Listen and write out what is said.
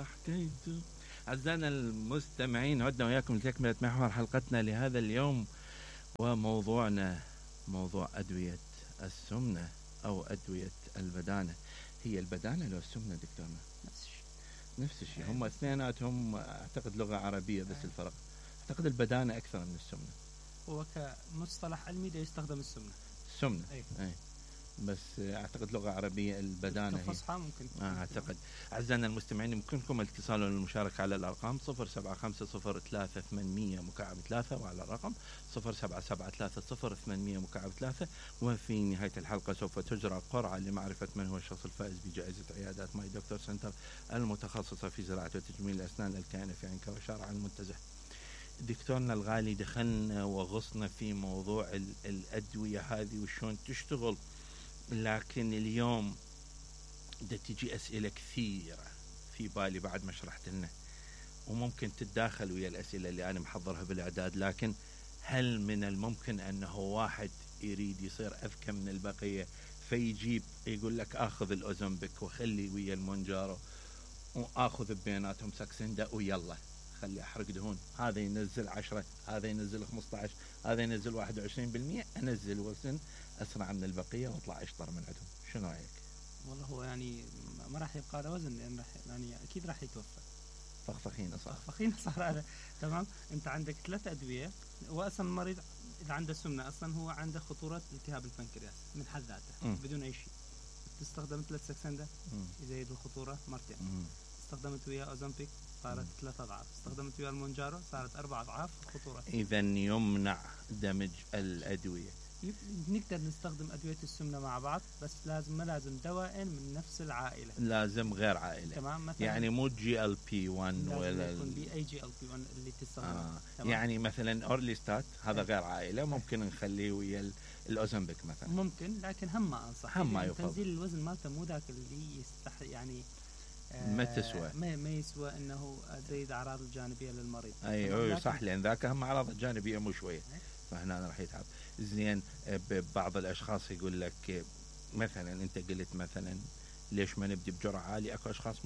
حكيت. أعزائنا المستمعين، عدنا وياكم لتكملة محور حلقتنا لهذا اليوم، وموضوعنا موضوع أدوية السمنة أو أدوية البدانة. هي البدانة لو السمنة دكتورنا؟ نفس الشيء، هم اثنيناتهم أعتقد لغة عربية، بس الفرق أعتقد البدانة أكثر من السمنة. هو كمصطلح علمي ده يستخدم السمنة. أي. بس أعتقد لغة عربية البدانة كفصحى ممكن. أعتقد. أعزائنا المستمعين، يمكنكم الاتصال والمشاركة على الأرقام 075-0800-3 وعلى الرقم 077-308-3. وفي نهاية الحلقة سوف تجرى قرعة لمعرفة من هو الشخص الفائز بجائزة عيادات ماي دكتور سنتر المتخصصة في زراعة وتجميل الأسنان الكائنة في عنكا وشارع المنتزه. دكتورنا الغالي، دخلنا وغصنا في موضوع الأدوية هذه وشون تشتغل، لكن اليوم تجي أسئلة كثيرة في بالي بعد ما شرحت لنا، وممكن تتداخل ويا الأسئلة اللي أنا محضرها بالإعداد. لكن هل من الممكن أنه واحد يريد يصير أذكى من البقية فيجيب يقول لك آخذ الأوزمبيك وخلي ويا المونجارو وآخذ بيناتهم ساكسندا ويلا خلي أحرق دهون، هذا ينزل 10، هذا ينزل 15، هذا ينزل 21%، أنزل وزن أسرع من البقية واطلع أشطر من عندهم؟ شنو رأيك؟ والله هو يعني ما راح يبقى له وزن، لأن يعني أكيد راح يتوفى. فخفخين صار هذا تمام. أنت عندك 3 أدوية، وأصلا المريض إذا عنده سمنة أصلا هو عنده خطورة التهاب البنكرياس من حد ذاته بدون أي شيء. استخدمت 3 ساكسندا يزيد الخطورة مرتين. استخدمت وياه أوزمبيك صارت 3 أضعاف. استخدمت وياه المونجارو صارت 4 أضعاف الخطورة. إذا يمنع دمج الأدوية. نقدر نستخدم أدوية السمنة مع بعض، بس ما لازم دواء من نفس العائلة، لازم غير عائلة. تمام. مثلا يعني مو GLP-1 ولا يكون أي GLP-1 اللي تستخدمه. يعني مثلا أورليستات هذا غير عائلة، ممكن نخليه ويا الأوزمبيك مثلا، ممكن، لكن هم ما أنصح. ما يفضل. تنزيل الوزن مالته مو ذاك اللي يعني ما تسوى، ما يسوى انه تزيد اعراض الجانبيه للمريض. اي صح، لان ذاك هم اعراض الجانبيه مو شويه، فهنا راح يتعب. زين، بعض الاشخاص يقول لك مثلا، انت قلت مثلا ليش ما نبدي بجرعه عاليه، اكو اشخاص مو